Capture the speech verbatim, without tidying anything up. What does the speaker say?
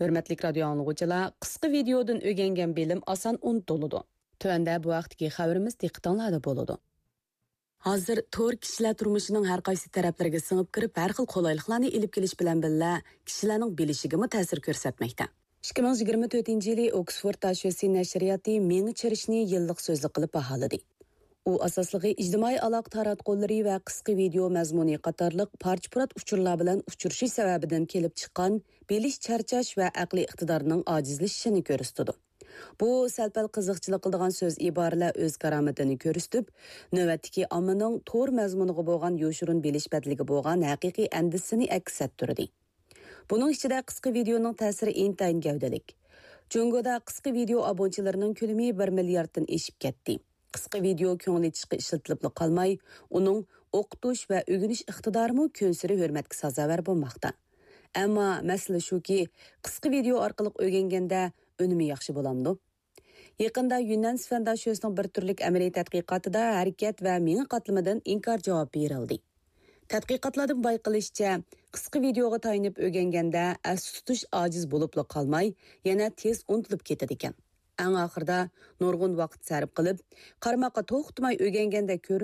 ھۆرمەتلىك رادىيو ئاڭلىغۇچىلار، قىسقا ۋىدېئودىن ئۆگەنگەن بىلىم ئاسان ئۇنتۇلىدۇ. تۆۋەندە بۇ ھەقتىكى خەۋىرىمىز دىققىتىڭلاردا بولىدۇ. ھازىر تور كىشىلەر تۇرمۇشىنىڭ ھەر قايسى تەرەپلىرىگە سىڭىپ كىرىپ، ھەر خىل قولايلىقلارنى ئېلىپ كېلىش بىلەن بىللە، كىشىلەرنىڭ بىلىشىگىمۇ تەسىر كۆرسەتمەكتە. ئىككى مىڭ يىگىرمە تۆتىنچى يىلى ئوكسفورد داشۆسى نەشرىياتى مېڭە چىرىشنى يىللىق سۆزلۈك قىلىپ باھالىدى. ئۇ ئاساسلىقى ئىجتىمائىي ئالاقە تاراتقۇلىرى ۋە قىسقا ۋىدېئو مەزمۇنى قاتارلىق پارچە-پۇرات ئۇچۇرلار بىلەن ئۇچرىشىش سەۋەبىدىن كېلىپ چىققان بىلىش چارچاش ۋە ئەقلىي ئىقتىدارنىڭ ئاجىزلىشىشىنى كۆرسىتىدۇ. بۇ سەل-پەل قىزىقچىلىق قىلىدىغان سۆز ئىبارىلەر ئۆز كارامىتىنى كۆرسىتىپ، نۆۋەتتىكى ئاممىنىڭ تور مەزمۇنىغا بولغان يوشۇرۇن بىلىش بەدىلىگە بولغان ھەقىقىي ئەندىزىسىنى ئەكس ئەتتۈردى. بۇنىڭ ئىچىدە قىسقا ۋىدېئونىڭ تەسىرى ئىنتايىن گەۋدىلىك. جۇڭگودا قىسقا ۋىدېئو ئابۇنىچىلىرىنىڭ كۆلىمى بىر مىلياردتىن ئېشىپ كەتتى. قىسقا ۋىدېئو كۆڭۈل ئېچىشقا ئىشلىتىلىپلا قالماي، ئۇنىڭ ئوقۇتۇش ۋە ئۆگىنىش ئىقتىدارىمۇ كۈنسېرى ھۆرمەتكە سازاۋەر بولماقتا. ئەمما مەسىلە شۇكى، قىسقا ۋىدېئو ئارقىلىق ئۆگەنگەندە ئۈنۈمى ياخشى بولامدۇ؟ يېقىندا يۈننەن سىفەن داشۆسىنىڭ بىر تۈرلۈك ئەمەلىي تەتقىقاتىدا ھەرىكەت ۋە مېڭە قاتلىمىدىن ئىنكار جاۋابى بېرىلدى. تەتقىقاتلاردىن بايقىلىشىچە، قىسقا ۋىدېئوغا تايىنىپ ئۆگەنگەندە ئەستە تۇتۇش ئاجىز بولۇپلا قالماي، يەنە تېز ئۇنتۇلۇپ كېتىدىكەن. ئەڭ ئاخىرىدا نۇرغۇن ۋاقىت سەرپ قىلىپ، قارىماققا توختىماي ئۆگەنگەندە